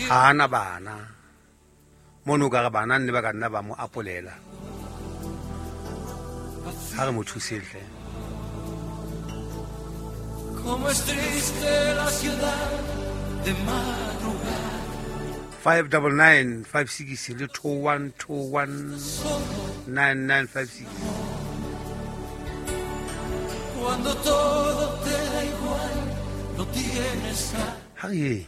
Ga ana bana mono o ka re bana nne ba ka nna ba mo apolela. Ga re mo thusetle. Como es triste la ciudad de madrugada. 599 56 le 21 21 9956. Cuando todo te da igual, no tienes a Ha re yeng.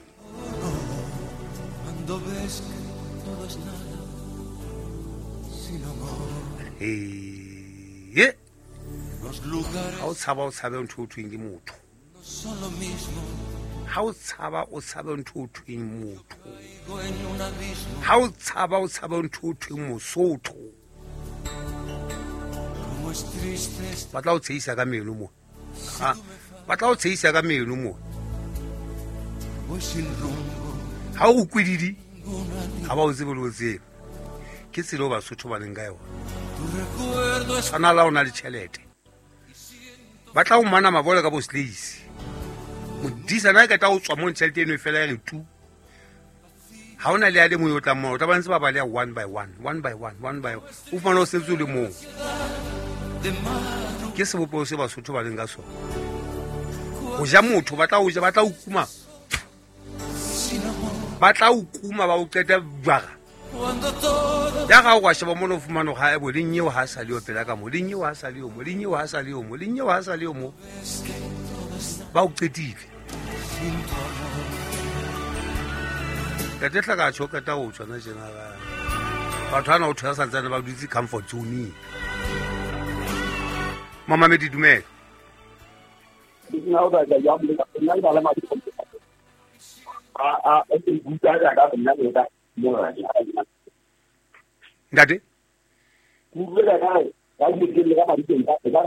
Cuando ves que todo es nada sin amor. Ee. Los lugares Ha o tshaba o tshabe ntho o thweng ke motho. no son lo mismo. Ha o tshaba o tshabe ntho o thweng motho. Caigo en un abismo. Ha o tshaba o tshabe ntho o thweng mosotho. Como es triste esta Ba tla o tshehisa ka meno mo. Ha ba tla o tshehisa ka meno mo. Voy sin rumbo. Ha o kwididi Ninguna ni ha ba o tsebe le o tsebe. Ke tsela o Basotho ba leng ka yona. tu recuerdo es Tshwana la o na le tjhelete. Ba tla o mana mabole ka bo slays. Modisa na e ka tla o tswa mo tjhelete eno e fela ya re tu. Ha ona le a le mong yo tlang moo, o tla ba ntse ba baleha one by one, one by one, one by one. O fumane o setse o le mong. de madrugada. Ke sebopeho se Basotho ba leng ka sona. Ho ja motho, ba tla o ja, ba tla o kuma. Sin amor. Ba tla o kuma ba o qeta jwara. Cuando todo Ya ga o wa sheba mono o fumane hore ha ebo le nyeo ha sa le yo pela ka mo, le nyeo ha sa le yo mo, le nyeo ha sa le yo mo, le nyeo ha sa le yo mo. ves que todo es nada Ba o qetile. sin tu amor. Ntate Hlaka tjho qeta ho tswa na tjena ka. Batho ana o thola santsane ba dutse comfort zone. Mamamedi dumela. Nna o batla jwang le nna le bana madi a a e buta ya ka nna le ka mo Ntate Ke utlwe ka kae ka ke ke le ka madi teng ka ka ka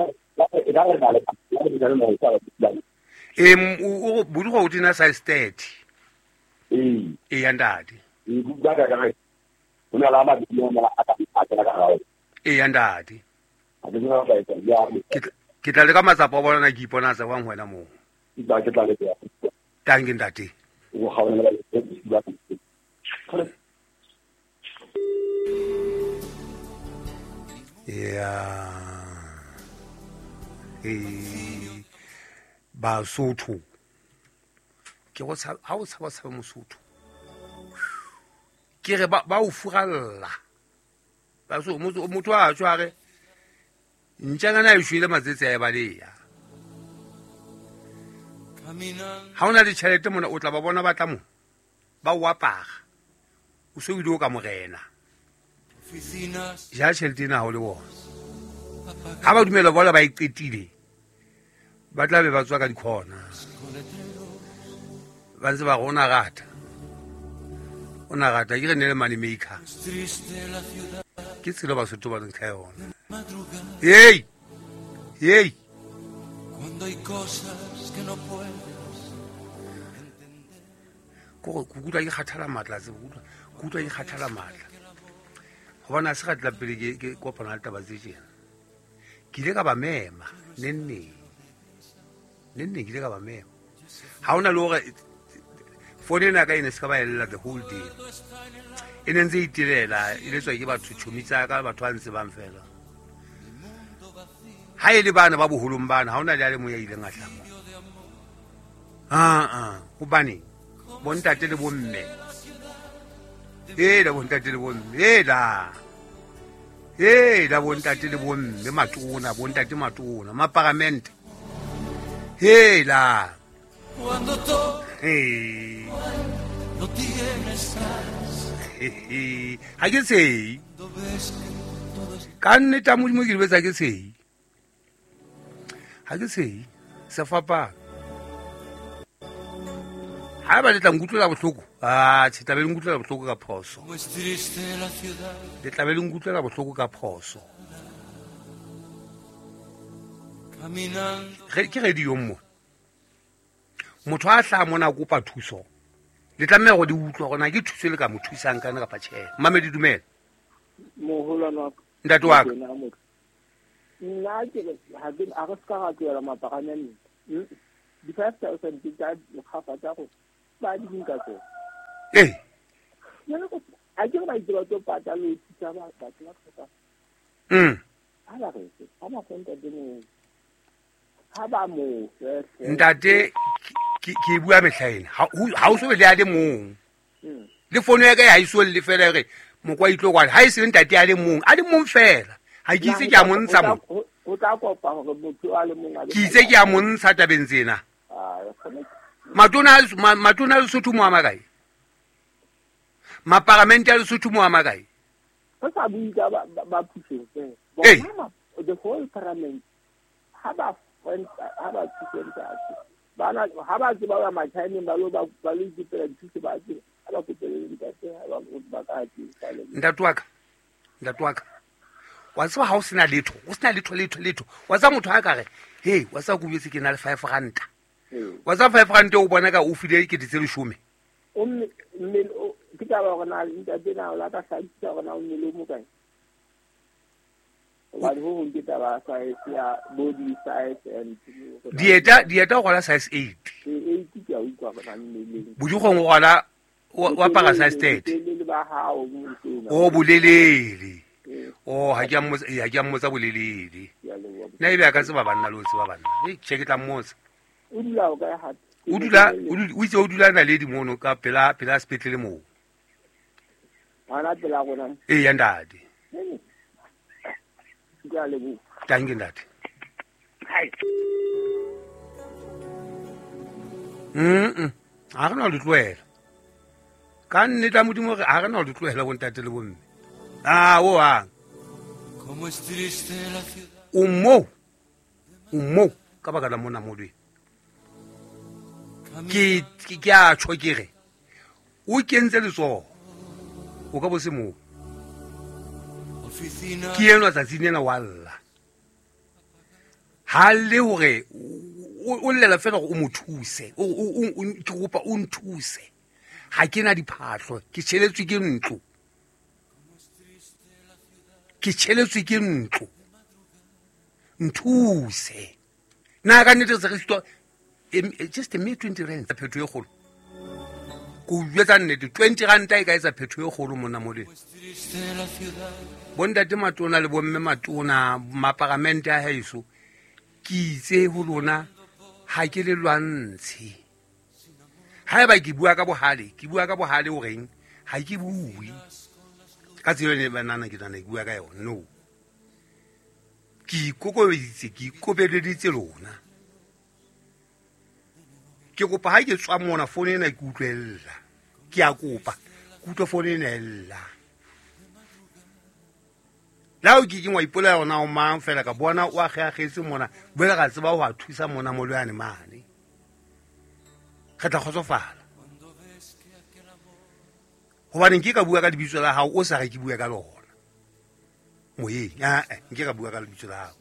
re na le ka le le ka le o bolugo o tena size 30. Ee. E ya ntate. E bua ka kae o na la madi mo a ka a ka ka E ya ntate. A ke tsena ka etsa ya Ke tla le ka matsapa a bona ke ipona tsa wang wena mo. Ke tla ke tla le ya. Tanki ntate. O gaona le ba Ya. E Basotho. Ke go tshaba ha o tshaba tshaba Mosotho. Ke re ba o furalla. Ba so motho a tswa re ntjangana e shwele matsetse a e baleya. Ha ona le tjhelete mona o tla ba bona ba tla mo. Ba o apara. O se o ile o ka morena. Ja tjhelete ena ha o le bona. Ha ba dumela bona ba e qetile. Ba tla be ba tswa ka dikhona. Ba ntse ba re o na rata. O na rata ke re ne le money maker. Ke tsela Basotho ba leng ka yona. Hey! Hey! Cuando hay cosas que no puedes entender. Ko go kutlwa ke kgathala matla tse kutlwa. Kutlwa ke kgathala matla. Hobane ha se ka tla pele ke kopana le taba tse tjena. Ke ile ka ba mema nenneng. Nenneng ke ile ka ba mema. Ha hona le hore phone ena ka e ne se ka ba ella the whole day. E ne ntse e itelela, e letswa ke batho tjhomi tsa ka, batho ba ntse bang fela. Ha e le bana ba boholong bana, ha hona le a le mong ya ileng a hlama. Ah, hobane bontate le bomme. Ela bontate le bomme, ela. Ela bontate le bomme matona, bontate matona, maparamente. Ela. Cuando todo Hey. no tienes alas. Ha ke tshehe. Cuando ves que todo es Ka nnete ya Modimo ke di betsa ke tshehe. Ha ke tshehe. Se fapana. Ha ba le tla nkutlwela bohloko. Ah, tjhe, tla be le nkutlwela bohloko ka phoso. Como es triste la ciudad. Le tla be le nkutlwela bohloko ka phoso. Caminando. Re ke radio mo. Motho a hlaha mona a kopa thuso. Le tlameha hore le utlwe hore na ke thuso e le ka mo thusang kana kapa tjhe. Mamedi dumela. Moholwane wa ka. Ntate wa ka. Nna ke re ha ke a re ska ra tlohela maparamente. Di 5000 tsa dikgafa tsa go ba di nka tsona. Ee. A ke re ba itse ba tlo patala ho thusa batho ba hlokang. Ha ba re ha ba fe ntate moo. Ha ba mo fe. Ntate ke bua mehla ena. Ha o so be le a le mong. Le fono ya ka ha iso le fela re mokwa itlo kwa ha e se ntate a le mong fela. Ha ke itse ke a montsha mo. O tla kopa hore motho a le mong a ke itse ke a montsha tabeng tsena. Matona a Lesotho mo a makae? Maparamente a Lesotho mo a makae? Re sa bue ka ba pusong fela. Bona the whole parliament ha ba thuse ntate. Bana ha ba tseba ba Machineng ba lo ikopela dithuso ba tseba ha ba kopele ntate ha ba ka thusa. Ntate wa ka. Wa tseba ha o sena letho, o sena letho. Wa tseba motho a ka re, "Hey, wa tseba ke betse ke na le 5 ranta." Wa tseba 5 ranta o bona ka o file ke tse 10. O mme ke taba hore na ntate na o la ka hlakisa hore na o mmele o mo kae. Hobane ho hong ke taba size ya body size and dieta o rwala size 8. 8 ke a utlwa hore na mmeleng. Bodikgong o rwala o apara size 30. Le ba hao o bolelele. Oh, ha ke a mmotsa bolelele. Nna ebe a ka tseba banna le o tseba banna. Che ke tla mmotsa. O dula o kae hape? O dula o itse o dula Naledi mono ka pela sepetlele moo. Hana pela rona. Ee ya ntate. Ke a leboha. Thank you ntate. Hai. Ha re na le tlohela. Ka nnete Modimo re ha re na le tlohela bo ntate le bomme. Ah, o ang. O mo ka baka la mona molwe. Ke a tjho ke re o kentse letsoho o ka bo se moo. Ke enwa tsatsing lena wa lla. Ha le hore o llela fela hore o mo thuse, ke kopa o nthuse. Ha ke na diphahlo, ke tjheletswe ke ntlo. Nthuse. Na ka nnete se re sitwa just a mere 20 rand phetho e kgolo. Ko jwetsa nnete 20 rand e ka etsa phetho e kgolo mona moleng. Bontate matona le bomme matona maparamente a haeso ke itse ho lona ha ke le lwantshe. Haeba ke bua ka bohale, o reng ha ke bue. Ka tsela ene banana ke tla bua ka yona. No. Ke ikokobeditse, ke ikobeleditse lona. Ke kopa ha ke tswa mona phone ena ke utlwella. Ke a kopa, ke utlwe phone ena ella. La o ke ke ngwa ipola yona o mang fela ka bona o akgeakgetse mona, boela ka tseba ho a thusa mona molwane mane. Re tla kgotsofala. Hobane nke ka bua ka lebitso la hao o sa re ke bua ka lona. Moyeng, nke ka bua ka lebitso la hao.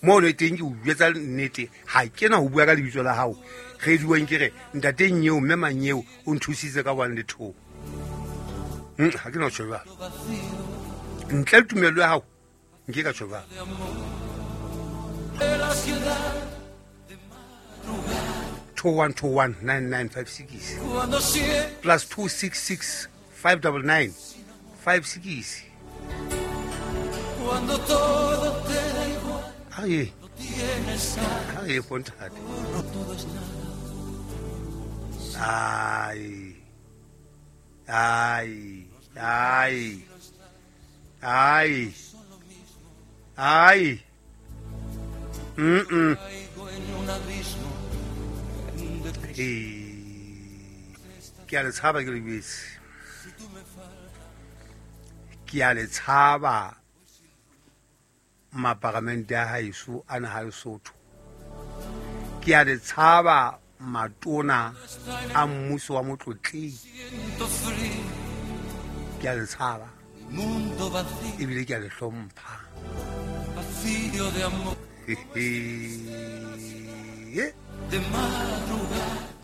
Mo le teng ke o jwetsa nnete, ha ke na ho bua ka lebitso la hao. Re duang ke re ntateng eo mme mang eo o nthusitse ka 1 le 2. Ha ke na ho tjho jwalo. Ntle le tumelo ya hao nke ka tjho jwalo. 2121 9956 plus 266 599 56. Ay, pontate. Ay. Ke a le tshaba ke le bese. Ke a le tshaba maparamente a haeso a naha Lesotho. Ke a le tshaba matona a mmuso wa motlotleng. Ke a le tshaba ebile ke a le hlompha.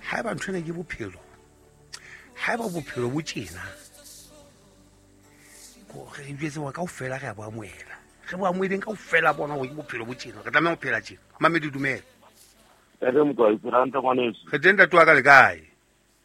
Haeba ntho ena ke bophelo, haeba bophelo bo tjena, re jwetse hore kaofela re a bo amohela. Re bo amoheleng kaofela bona hore ke bophelo bo tjena, re tlameha ho phela tjena. Mamedi dumela. Re teng ntate wa ka le kae?